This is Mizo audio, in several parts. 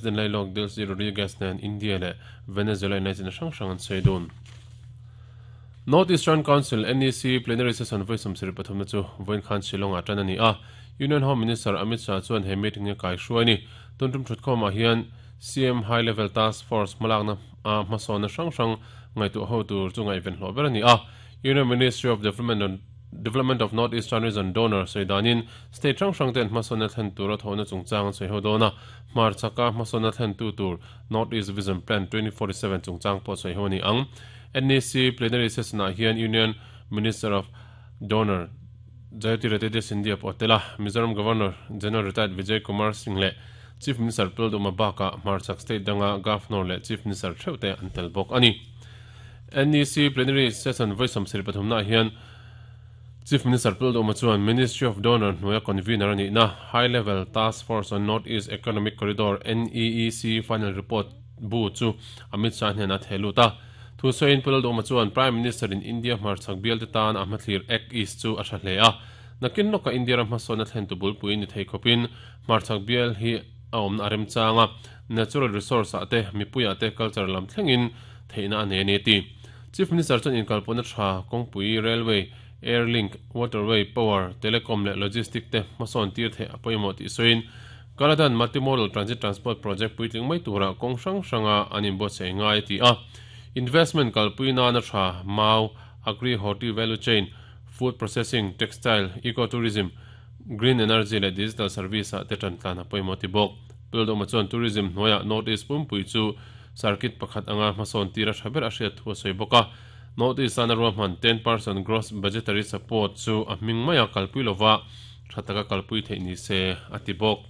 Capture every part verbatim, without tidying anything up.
President lailawk Delcy Rodriguez nen India leh Venezuela inlaichina hrang hrang an sawi dun. North Eastern Council, N E C, plenary session vawi sawmsarih pathumna chu vawiin khan Shillong-ah tan a ni a. Union Home Minister Amit Shah chuan he meeting hi a kaihruai a ni. Tun tum thutkhawmah hian C M High Level Task Force hmalakna a hmasawnna hrang hrang ngaihtuah ho tur chu ngaihven hlawh ber a ni a. Union Ministry of Development Development of North Eastern Region, DoNER, sawi danin state hrang hrang ten hmasawnna thlen tura thawhna chungchang an sawi ho dawn a. Hmar chaka hmasawnna thlen tu tur North East Vision Plan twenty forty-seven chungchang pawh sawi ho a ni ang. N E C plenary session-ah hian Union Minister of DoNER Jyotiraditya Scindia pawh a tel a. Mizoram Governor General Retired Vijay Kumar Singh leh Chief Minister Pu Lalduhoma bakah hmarchhak state danga Governor leh Chief Minister theuh te an tel bawk a ni. N E C plenary session vawi sawmsarih pathumnaah hian Chief Minister Pu Lalduhoma chuan Ministry of DoNER hnuaia convener a nihna High Level Task Force on North East Economic Corridor, N E E C, final report bu chu Amit Shah hnenah a theh lut a. Thu sawiin Pu Lalduhoma chuan Prime Minister in India hmarchhak bial te tan a hmathlir Act East chu a tha hle a. Nakin lawka India ram hmasawnna thlen tu bulpui ni thei khawpin hmarchhak bial hi a awmna a remchang a, natural resource ah te, mipuiah te, culture lam thlengin theihna a nei a ni a ti. Chief Minister chuan inkalpawhna tha kawngpui, railway, air link, waterway, power, telecom leh logistic te hmasawn tir theih a pawimawh tih sawiin Kaladan Multimodal Transit Transport Project puitling mai tura kawng hrang hranga an inbuatsaih ngai a ti a. Investment kalpui nana tha mau, agri horti value chain, food processing, textile, ecotourism, green energy leh digital service ah te tan tlan a pawimawh ti bawk. Pu Lalduhoma chuan tourism hnuaiah North East pumpui chu circuit pakhat anga hmasawn tir a tha ber a hriat thu a sawi bawk a. North East ana ruahman ten percent gross budgetary support chu a hming maia kalpui lova tha taka kalpui theih ni se a ti bawk.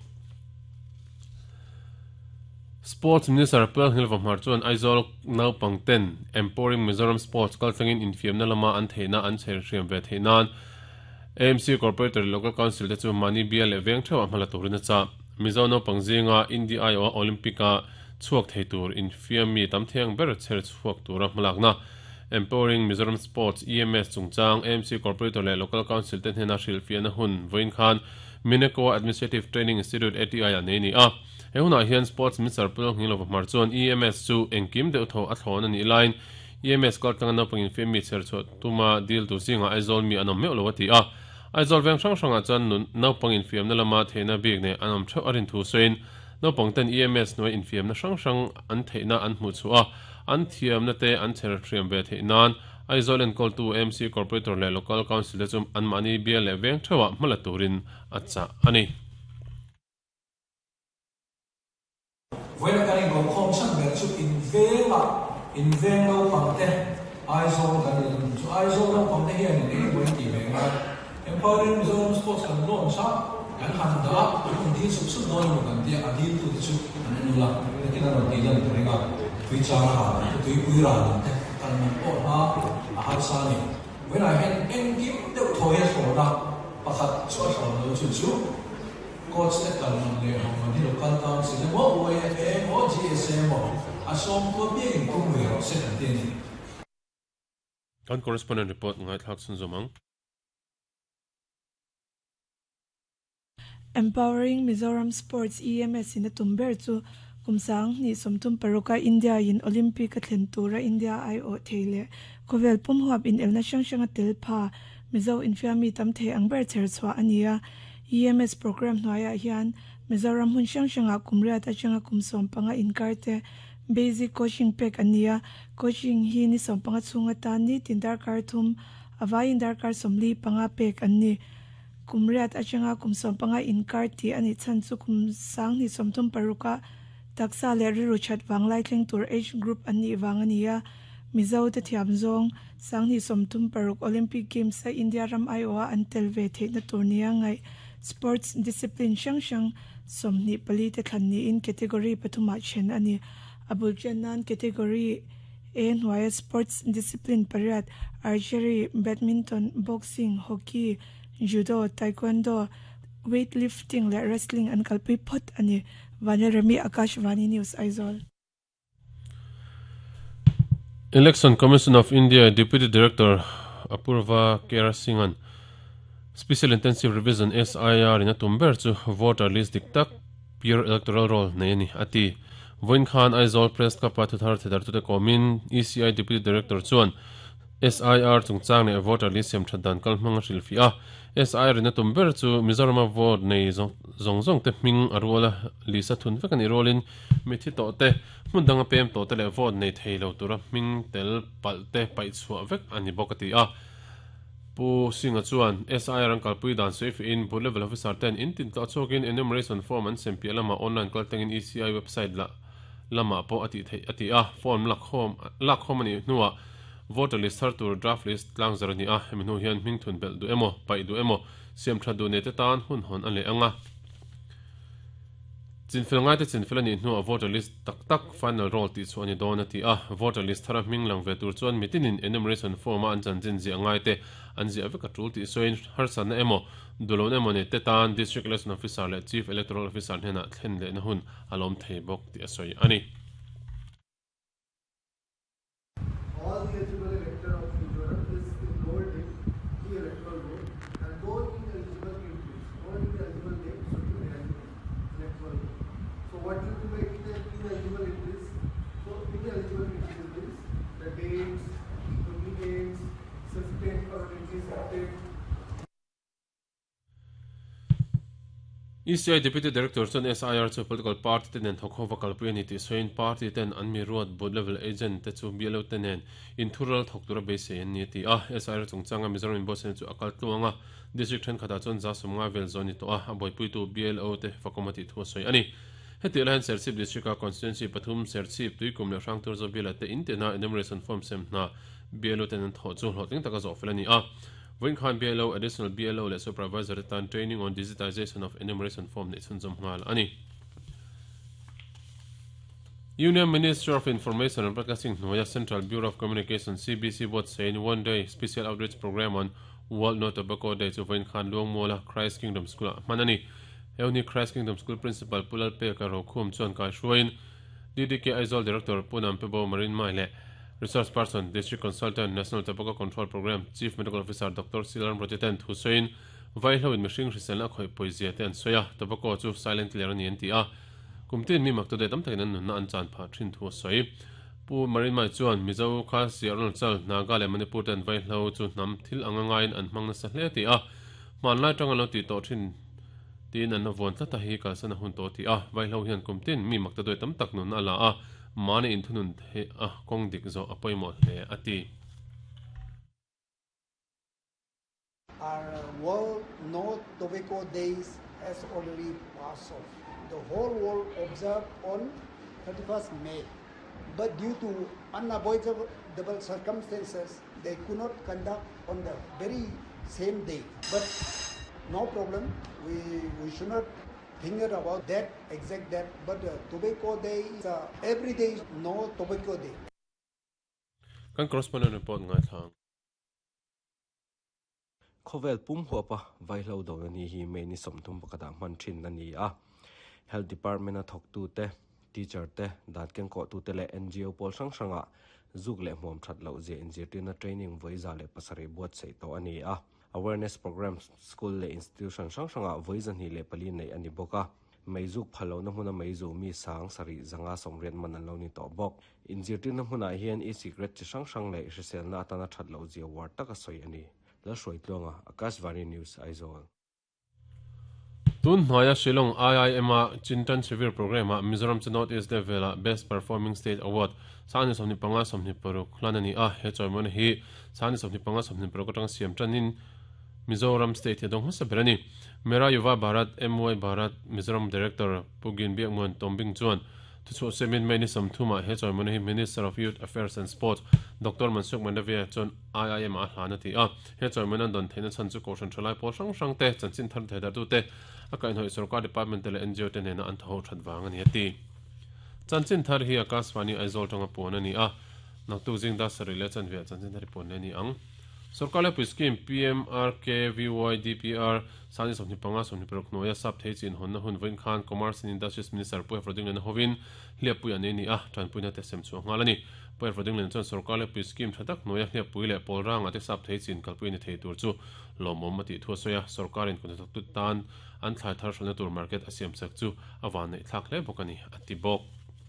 Sports Minister Pu Lalnghilova Hmar chuan Aizawl naupang ten Empowering Mizoram Sports kaltlangin infiamna lama an theihna an chher hriam ve theih nan A M C Corporator Local Council te chu mani bial leh veng theuh a hmala turin a chah. Mizo naupang zinga India aiawh Olympic a chhuak thei tur infiam mi tam thiang ber chher chhuak tura hmalakna Empowering Mizoram Sports, E M S, chungchang A M C Corporator leh Local Council te hnena hrilhfiahna hun vawiin khan Mineco Administrative Training Institute, A T I, ah nei ni a. He hunah hian Sports Minister Pu Lalnghilova Hmar chuan E M S chu engkim deuh tho a thlawn a nih laiin E M S kaltlanga naupang infiam mi chher chhuah tuma dil tur zingah Aizawl mi an awm meuh lo a ti a. Aizawl veng hrang hrangah chuan naupang infiamna lama theihna bik nei an awm theuh a rin thu sawiin naupang ten E M S hnuai infiamna hrang hrang an theihna an hmuh chhuah a, an thiamna te an chher hriam ve theih nan Aizawl enkawltu A M C Corporator leh Local Council te chu anmahni bial leh veng theuhah hmala turin a chah a ni. Vawiina kan inkokhawm chhan ber chu invengah inveng naupangte Aizawl kan ni chu Aizawl naupangte hian in engemaw in tih ve ngai. Empowering Mizoram Sports kan launch a, kan han dah a, an dil sup sup dawn emaw kan tia, a dil tu te chu an nula nakin an rawn tih lan ka ring a. Tui chang ral ang te, tuipui ral ang te kal man pawh hna a harsa a ni. Vawiinah hian engkim deuh thaw hi a thlawn a, pakhat chu a thlawn lo, chu chu coach te kal man leh ho man hi Local Council emaw, U A F A emaw, G S A emaw a sawm tua piangin tum ve rawh se kan ti a ni. Kan correspondent report ngaithlak chhunzawm ang. Empowering Mizoram Sports, E M S, in a tum ber chu kumsang ni sawmthum paruka India in Olympic a thlen tura India aiawh thei leh khawvel pum huap in elna hrang hranga tel pha Mizo infiammi tam thei ang ber chher chhuah a ni a. E M S program hnuaiah hian Mizoram hmun hrang hrangah kum riat atanga kum sawm panga inkar te basic coaching pek an ni a. Coaching hi ni sawm panga chhunga tan ni tin darkar thum, avaiin darkar sawmli panga pek an ni. Kum riat atanga kum sawm panga inkar ti ani chan chu kum sang ni sawmthum paruka taksa leh riru that wanglai thleng tur age group an nih wang ani a. Mizo te thiam zawng sang ni sawmthum paruk Olympic Games a India ram aiawh an tel ve theihna tur nia ngai sports discipline hrang hrang sawmhnih pali te thlan niin category pathumah then ani. A bul chen nan category A hnuaia sports discipline pariat, archery, badminton, boxing, hockey, judo, taekwondo, weightlifting leh wrestling an kalpui phawt ani. Vanel Remi, Akashvani News, Aizawl. Election Commission of India Deputy Director Apurva Kera Singhan Special Intensive Revision, S I R, in a tum ber chu voter list dik tak Pure electoral roll nei ani ati voin khan Aizawl Press Club pa thuthar thedar tute komin E C I Deputy Director chuan S I R chungchang ne voter list sem thatdan kal hmanga hrilfi a S I R na tumber chu Mizoram vote nei zong zong te hming arwala lisa thun vek ani rolin mithi to te hmundanga pem to te le vote nei theilo tura hming tel pal te pai chua vek ani bokati a pu singa chuan S I R an kalpui dan seifi in booth level officer ten in tin to chokin enumeration form an sem pi lama online kal tangin E C I website la lama po ati thei ati a form lak hom lak hom ani nuwa voter list thar tur draft list tlang zarani a hemi nu hian hming thun bel du emo pai du emo siam tha du ne te tan hun hon an le anga chinfil ngai te chinfil ani hnu a voter list tak tak final roll ti chu ani don ati a voter list thara hming lang ve tur chuan mitinin enumeration form a an chan chin ji angai te an ji aveka tul ti soin har san na emo dulon emo ne te tan district election officer le chief electoral officer hena thlen le na hun alom thei bok ti a soi ani. All the eligible elector of Mizoram is enrolled in the electoral roll, and no ineligible entries, no ineligible names should be there in electoral roll. So what do you mean by ineligible entries? So ineligible entries means the dates, duplicates, shifted, permanently shifted. E C I Deputy Director chuan S I R chu political party ten thokho vakal pui ani ti soin party ten an mi ruat booth level agent te chu B L O tenen in thural thok tura be se ni ti a S I R chungchanga Mizoram in bosen chu akal tluanga district then khata chuan za sumnga vel zoni to a aboi pui tu B L O te fakomati thu soi ani heti lain Serchhip district a constituency pathum Serchhip tuikum le hrangtur zo bila te in tena enumeration form sem na B L O ten tho chu hlotling taka zo felani a Voin khan B L O additional B L O le supervisor tan training on digitization of enumeration form ne chunzom ngal ani. Union Minister of Information and Broadcasting Noya Central Bureau of Communication C B C bot saying one day special outreach program on World No Tobacco Day chu voin khan luang mola Christ Kingdom School manani Euni Christ Kingdom School Principal Pulal Pe ka rokhum chuan kai hruain D D K Aizawl Director Punam Pebo Marine Mai le Resource Person, District Consultant, National Tobacco Control Program, Chief Medical Officer Doctor Silan Rojeten Hussein, Vaihlo in Machine Hriselna khoi poizia te an soya, tobacco chu silent killer ani an ti a. Kumtin mi makto de tam takin an nunna an chan pha thin thu soi. Pu Marine Mai chuan Mizo kha Siarol Chal Naga le Manipur ten Vaihlo chu nam thil anga ngain an hmang na sa hle ti a. Man lai tang lo ti to thin tin an von tata hi kalsan hun to ti a. Vaihlo hian kumtin mi makto de tam tak nun ala a. Mani in thunun he a kong dik zo apoimo hle ati. Our World No Tobacco Days has already passed off. The whole world observed on thirty-first May. But due to unavoidable circumstances, they could not conduct on the very same day. But no problem, we, we should not think about that, exact that, but uh, tobacco day is uh, every day is no tobacco day. Kan correspondent report ngai thang. Khovel pum huapa vaihlo do ni hi me ni somthum pakata man thin na ni a. Health Department a thok tu te, teacher te, dat keng ko tu te le N G O pol sang sanga zuk le mom that lo je N G O na training voiza le pasare buat sei to ani a. Awareness program school le institution sang sanga voizan hi le pali nei ani boka meizuk phalo na hmuna meizu mi sang sari zanga somriat man an lo ni to bok inzirtir na hmuna hian e-cigarette chi hrang hrang leh hriselna atana that lo zia war taka sawi ani la hruai tluanga Akashvani News Aizawl. Tun hnuaia Shillong I I M a Chintan Shivir program a Mizoram chu North East level a Best Performing State Award sani sawmhnih panga sawmhnih paruk hlan ani a he chawimawna hi sani sawmhnih panga sawmhnih paruk atang siam tanin Mizoram State dong hmasa ber ani Mera Yuva Bharat M Y Bharat Mizoram Director Pugin Biakmuan Tombing chuan thuchhuah semin mai ni sawmthuma he chawimawna hi Minister of Youth Affairs and Sports Doctor Mansukh Mandaviya chuan I I M a hlan a ti a he chawimawna don theihna chhan chu kohhran thalai pawl hrang hrang te chanchin thar thei tu te a kaihhnawih sarkar department te leh N G O te nena an thaho that wang ani ati chanchin thar hi Akashvani Aizawl tanga puan ani a naktuk jing da sari le chanvia chanchin thar puan le ni ang Sarkar lepui scheme P M R K V Y D P R sani sawmhnih panga sawmhnih paruk hnuaia sap thei chin hawnna hun vawiin khan Commerce and Industries Minister Pu Rodingliana hovin hliappui an nei ni a, tanpuina te sem chhuah nghal a ni. Pu Rodingliana chuan sarkar lepui scheme tha tak hnuaia hliappui leh pawlranga te sap thei chin kalpui ni thei tur chu lawmawm a tih thu a sawi a, sarkarin kut tan an thlai thar hralhna tur market a siam sak chu a van neih thlak hle bawk a ni a ti bawk.